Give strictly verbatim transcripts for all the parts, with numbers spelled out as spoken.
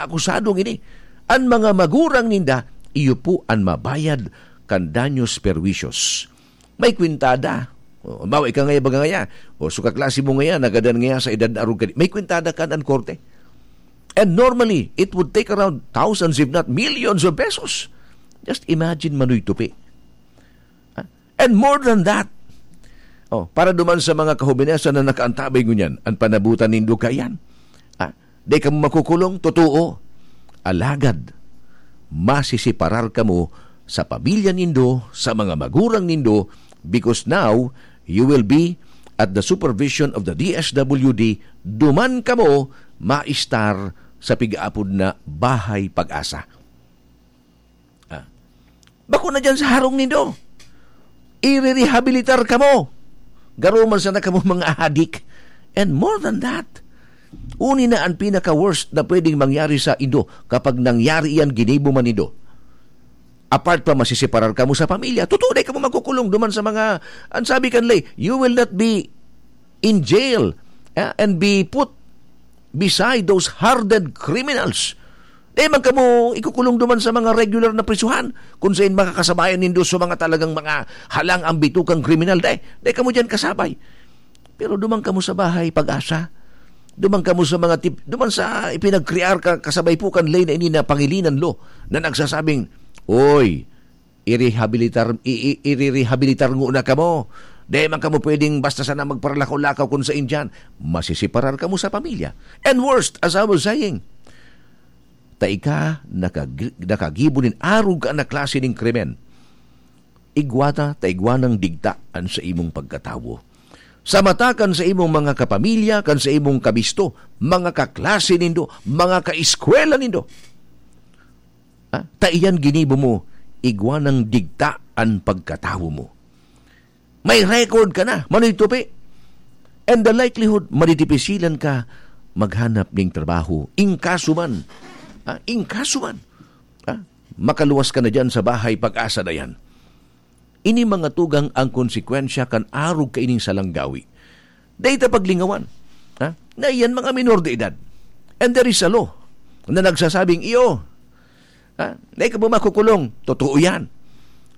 akusado ngini. An mga magurang ninda, iyo po an mabayad kan daños perjuicios. May kwintada. O, halimbawa, ika ngaya, baga ngaya, o, so kaklase mo ngaya, nagadan ngaya sa edad na arog ka di-, may kwintada kan an korte. And normally, it would take around thousands, if not millions of pesos. Just imagine, Manoy Tupi. Ah, and more than that, oh, para duman sa mga kahobenesan na nakaantabay ngunyan, an panabutan nindo kaiyan. Ah, dai kamo makukulong, totoo. Alagad, masiseparar kamo sa pamilya nindo, sa mga magurang nindo, because now, you will be at the supervision of the D S W D, duman kamo maistar sa pigaapod na Bahay Pag-asa. Ah. Bako na diyan sa harong nindo. Irerehabilitar kamo. Garo man sana kamo mga adik. And more than that, uni na an pinaka-worst na pwedeng mangyari sa indo kapag nangyari iyan, ginibo man nindo. Apart pa, masiseparar kamo sa pamilya. Totoo, dai kamo magkukulong duman sa mga, an sabi kan ley, you will not be in jail, ah, and be put beside those hardened criminals. Dai man kamo ikukulong duman sa mga regular na prisuhan, kung sain makakasabayan nindo sa mga talagang mga halang ang bitukang kriminal. Dai, dai kamo diyan kasabay. Pero duman kamo sa Bahay Pag-asa. Duman kamo sa mga tip-, duman sa ipinagkrear ka, kasabay po kan ley na ini na Pangilinan Law na nagsasabing, "Oy, irehabilitar, i-, i-, irerehabilitar ngona kamo. Dai man kamo pwedeng basta sana magparalakaw-lakaw kun sain diyan. Masiseparar kamo sa pamilya." And worst, as I was saying, ta ika nakag-, nakagibo nin arog ka na klase nin krimen. Igwa ta, ta igwa nang digta an sa imong pagkatawo. Sa mata kan sa imong mga kapamilya, kan sa imong kabisto, mga kaklase nindo, mga kaeskwela nindo. Ah, ta iyan ginibo mo, igwa nang digta an pagkatawo mo. May record ka na, Manoy Tupi. And the likelihood, madidipisilan ka maghanap ning trabaho. In kaso man, ah, in kaso man, ah, makaluwas ka na diyan sa Bahay Pag-asa na yan. Ini mga tugang an konsekwensya kan arog kaining salang gawi. Dai ta paglingawan, ha? Na iyan mga minor de edad. And there is a law na nagsasabing, iyo, ha? Dai ka po makukulong. Totoo yan.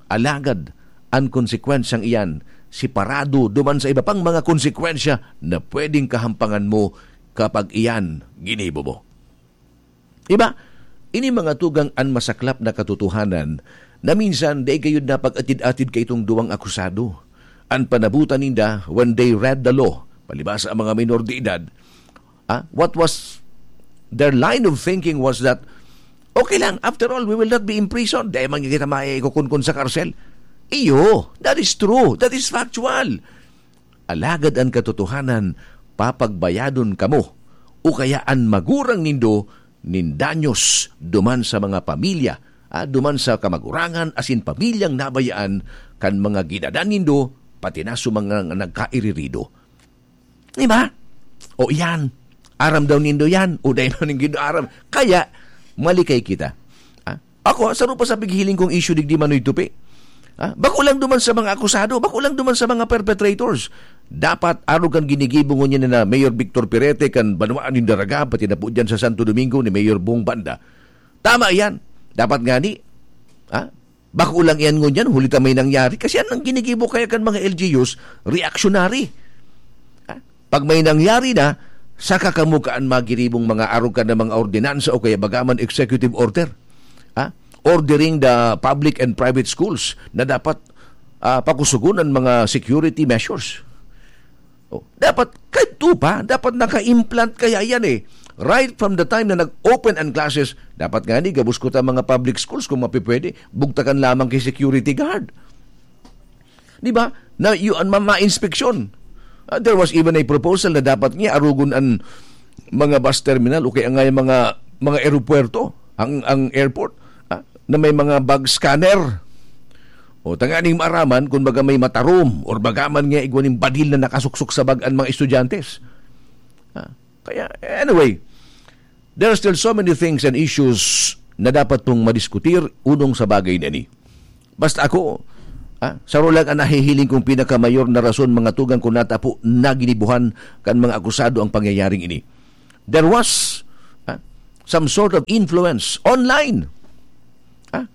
Alagad, an konsekwensyang iyan, separado duman sa iba pang mga konsekwensya na pwedeng kahampangan mo kapag iyan ginibo mo. Iba, ini mga tugang an masaklap na katotohanan na minsan dai gayud napag-atid-atid kaitong duwang akusado. An panabutan ninda, when they read the law, palibasa ang mga minor de edad, ah, what was their line of thinking was that, "Okay lang, after all, we will not be imprisoned. Dai man kita maikukunkon sa karsel." Iyo, that is true. That is factual. Alagad an katotohanan, papagbayadon kamo o kaya an magurang nindo nin danyos duman sa mga pamilya, ah, duman sa kamagurangan asin pamilyang nabayaan kan mga ginadan nindo, pati na sa mga nagkairirido. Di ba? O iyan, aram daw nindo yan, o dai man nindo aram. Kaya, malikay kita. Ah, ako, saro pa sa pighiling kong issue digdi, Manoy Tupi. Ah, bako lang duman sa mga akusado, bako lang duman sa mga perpetrators. Dapat, arog kan ginigibo ngunyan na Mayor Victor Perete kan banwaan nin Daraga, pati na po dyan sa Santo Domingo ni Mayor Bong Banda. Tama yan. Dapat ngani, ah, bako lang iyan ngunyan, huli ta may nangyari. Kasi yan ang ginigibo kaya kan mga L G Us, reactionary. Ah, pag may nangyari na, saka kamo kaan magiribong mga arog kan na mga ordinansa o kaya bagaman executive order. Ah, ordering the public and private schools na dapat, ah, pakusugon ang mga security measures. Oh, dapat kadto pa, dapat naka-implant kaya yan eh. Right from the time na nag-open ang classes, dapat ngani gabos ko ta mga public schools kung mapipwede, bugtakan lamang ki security guard. Di ba? Na yu-, an ma-, ma-inspeksyon. Ah, there was even a proposal na dapat nga arugon an mga bus terminal o kaya nga yung mga, mga eropuwerto, ang, ang airport, ah, na may mga bag scanner. O, tanganing maaraman kung baga may matarom or baga man nga igwa ning badil na nakasuksok sa bag an mga estudyante. Ah, kaya, anyway, there are still so many things and issues na dapat pong madiskutir unong sa bagay na ini. Basta ako, ah, saro lang ang nahihiling kong pinakamayor na rason, mga tugang, kung nata po naginibuhan kan mga akusado ang pangyayaring ini. There was, ah, some sort of influence online. Ah?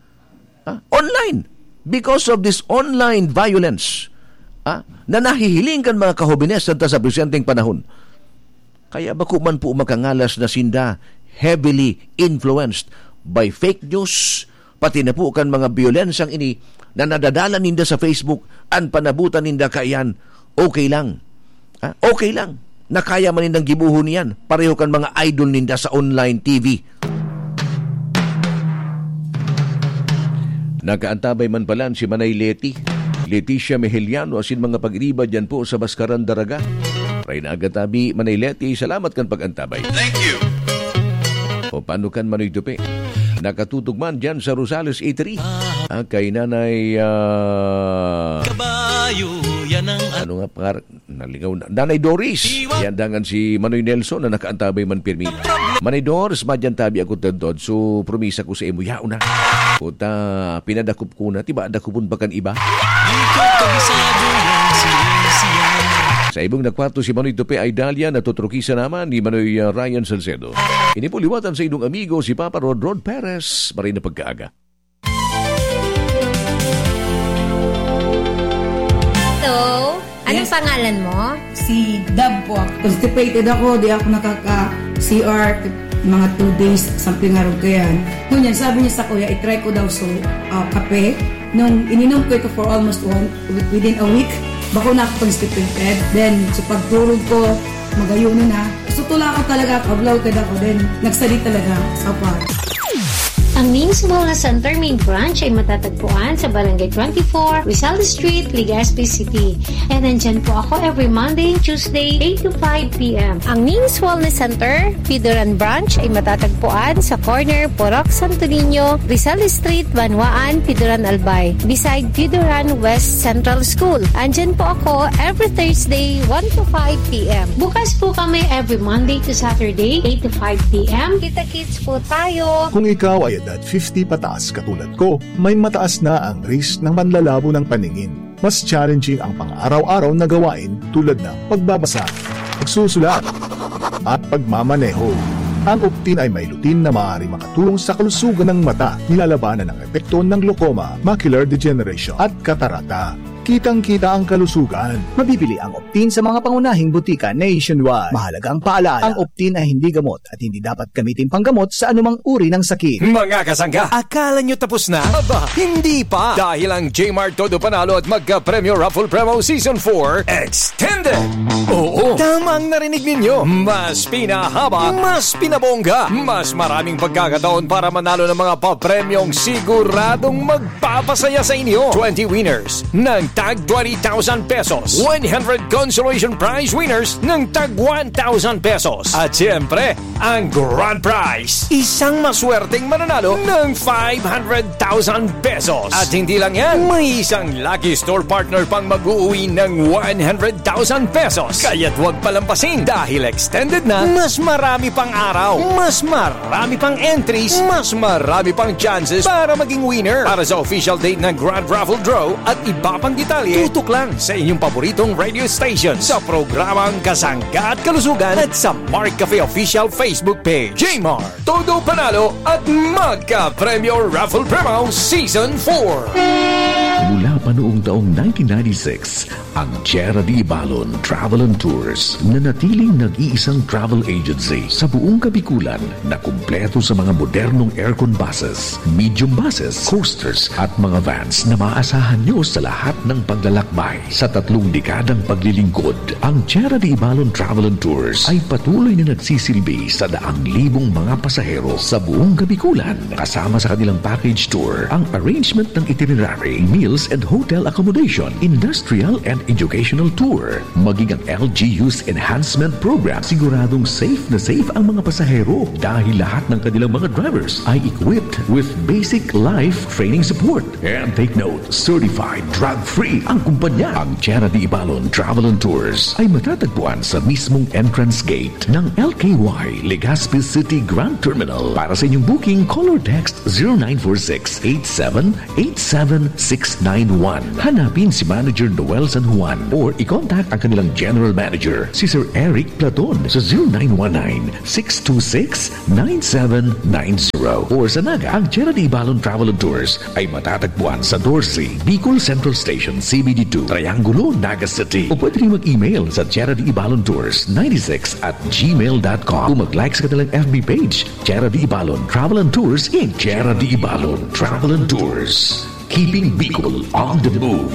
Ah? Online. Because of this online violence, ah, na nahihiling kan mga kahobines santa sa presenteng panahon. Kaya bako man po makangalas na sinda heavily influenced by fake news, pati na po kan mga biyolensang ini na nadadala ninda sa Facebook, an panabutan ninda kaiyan, okay lang. Ah, okay lang. Na kaya man nindang gibohon iyan, pareho kan mga idol ninda sa online T V. Nakaantabay man palan si Manay Leti, Leticia Mejeliano asin mga pag-iriba diyan po sa Baskaran, Daraga. Maray na aga tabi, Manay Leti, salamat kan pag-antabay. Thank you. O paano kan Manoy Tupi? Nakatutok man diyan sa Rosales Eatery. Ah, kay Nanay, ah, Kabayo, yan ang ano nga, par-, nalingaw na. Nanay Doris. Yan dangan si Manoy Nelson na nakaantabay man pirmi. Manay Doris, madyan tabi ako tadtod. So, promisa ko sa imo, yaon na. Puta, pinadakop ko na. Tiba, dakopon pa kan iba. Di ko kabisado yan, siya, siya. Sa ibong nakwato si Manoy Tupi Idalia, natutrukisa naman ni Manoy, ah, Ryan Salcedo. Ini po liwatan sa inyong amigo, si Papa Rod Rod Perez. Maray na pagkaaga. Hello, anong Yes. pangalan mo? Si Dab po ako. Constipated ako, di ako nakaka-C R, mga two days, something nga rin kaya. Ngunyan, sabi niya sa kuya, i-try ko daw so, ah, kape. Nung ininom ko ito for almost one, within a week, bako na ako constipated. Then, sa pagturog ko, magayuno na. Gusto ko lang ako talaga, kablaw ka ako. Then, nagsali talaga sa pa. Ang Ning's Wellness Center main branch ay matatagpuan sa Barangay twenty-four, Rizal Street, Legazpi City. And nandyan po ako every Monday and Tuesday, eight to five p m. Ang Ning's Wellness Center, Pidoran Branch ay matatagpuan sa corner Purok Santo Niño, Rizal Street, Banwaan, Pidoran, Albay, beside Pidoran West Central School. Andyan po ako every Thursday, one to five p m. Bukas po kami every Monday to Saturday, eight to five p m. Kita-kits po tayo. Kung ikaw ay edad fifty pataas katulad ko, may mataas na ang risk ng panlalabo ng paningin. Mas challenging ang pang-araw-araw na gawain tulad ng pagbabasa, pagsusulat, at pagmamaneho. Ang Optin ay may lutein na maaari makatulong sa kalusugan ng mata, nilalabanan ang epekto ng glaucoma, macular degeneration, at katarata. Kitang-kita ang kalusugan. Mabibili ang Optin sa mga pangunahing butika nationwide. Mahalagang paalala, ang Optin ay hindi gamot at hindi dapat gamitin panggamot sa anumang uri ng sakit. Mga kasangga, akala nyo tapos na? Aba, hindi pa! Dahil ang J-Mart Todo Panalo at Magka Premyo Raffle Promo Season four Extended! Oo, tama ang narinig ninyo. Mas pinahaba, mas pinabongga, mas maraming pagkakataon para manalo ng mga papremyong siguradong magpapasaya sa inyo. Twenty winners ng tag twenty thousand pesos, one hundred consolation prize winners ng tag one thousand pesos. At siyempre, ang grand prize, isang maswerteng mananalo ng five hundred thousand pesos. At hindi lang yan, may isang lucky store partner pang mag-uuwi ng one hundred thousand pesos. Kaya't huwag palampasin dahil extended na, mas marami pang araw, mas marami pang entries, mas marami pang chances para maging winner. Para sa official date ng Grand Raffle Draw at iba pang detalye, tutok lang sa inyong paboritong radio station sa programang Kasangga at Kalusugan at sa Mark Cafe Official Facebook page. J-Mart, Todo Panalo at Magka Premyo Raffle Promo Season four. Mula pa noong taong nineteen ninety-six, ang Tierra de Ibalon Travel and Tours, nanatiling nag-iisang travel agency sa buong Kabikulan na kumpleto sa mga modernong aircon buses, medium buses, coasters at mga vans na maaasahan nyo sa lahat ng paglalakbay. Sa tatlong dekadang paglilingkod, ang Tierra de Ibalon Travel and Tours ay patuloy na nagsisilbi sa daang libong mga pasahero sa buong Kabikulan. Kasama sa kanilang package tour, ang arrangement ng itinerary, meals and hotel accommodation, industrial and educational tour, maging ang L G U's enhancement program, siguradong safe na safe ang mga pasahero dahil lahat ng kanilang mga drivers ay equipped with basic life training support. And take note, certified drug-free ang kumpanya. Ang Tierra de Ibalon Travel and Tours ay matatagpuan sa mismong entrance gate ng L K Y Legazpi City Grand Terminal. Para sa inyong booking, call or text zero nine four six eight seven eight seven six nine one. Hanapin si Manager Noel San Juan or i-contact ang kanilang General Manager, si Sir Eric Platon, sa zero nine one nine, six two six, nine seven nine zero. Or sa Naga, ang Tierra de Ibalon Travel and Tours ay matatagpuan sa Dorsey, Bicol Central Station, C B D two, Triangulo, Naga City. O pwede rin mag-email sa Tierra de Ibalon Tours ninety-six at gmail dot com. O mag-like sa kanilang F B page, Tierra de Ibalon Travel and Tours in Tierra de Ibalon Travel and Tours. Keeping Bicol on the move.